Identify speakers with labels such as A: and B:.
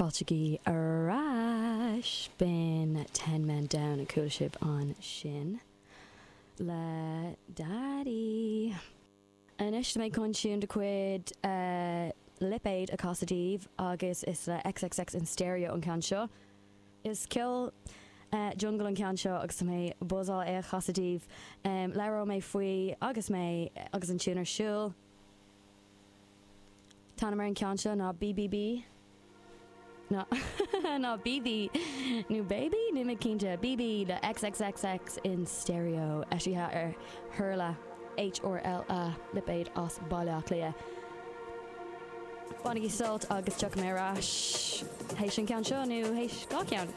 A: Fáiltigí ar ais! B'in Ten Men Down a chuala sibh ansin le Daddy. Anois tá mé chun tiún de chuid Lipéad a chasadh daoibh agus is le XXX in Stereo an ceann seo. Is ceol jungle an ceann seo agus tá mé buzzáil é a chasadh daoibh. Labhróidh mé faoi agus mé agus an tiún ar siúl. An t-ainm ar an ceann seo ná BBB ná ná BB nó Baby? Níl mé cinnte. BB le XXXX in Stereo, eisithe ar Hurla, H-U-R-L-A, lipéad as Baile Átha Cliath. Bainigí sult agus tiocfaidh mé ar ais théis an ceann seo nó théis gach ceann.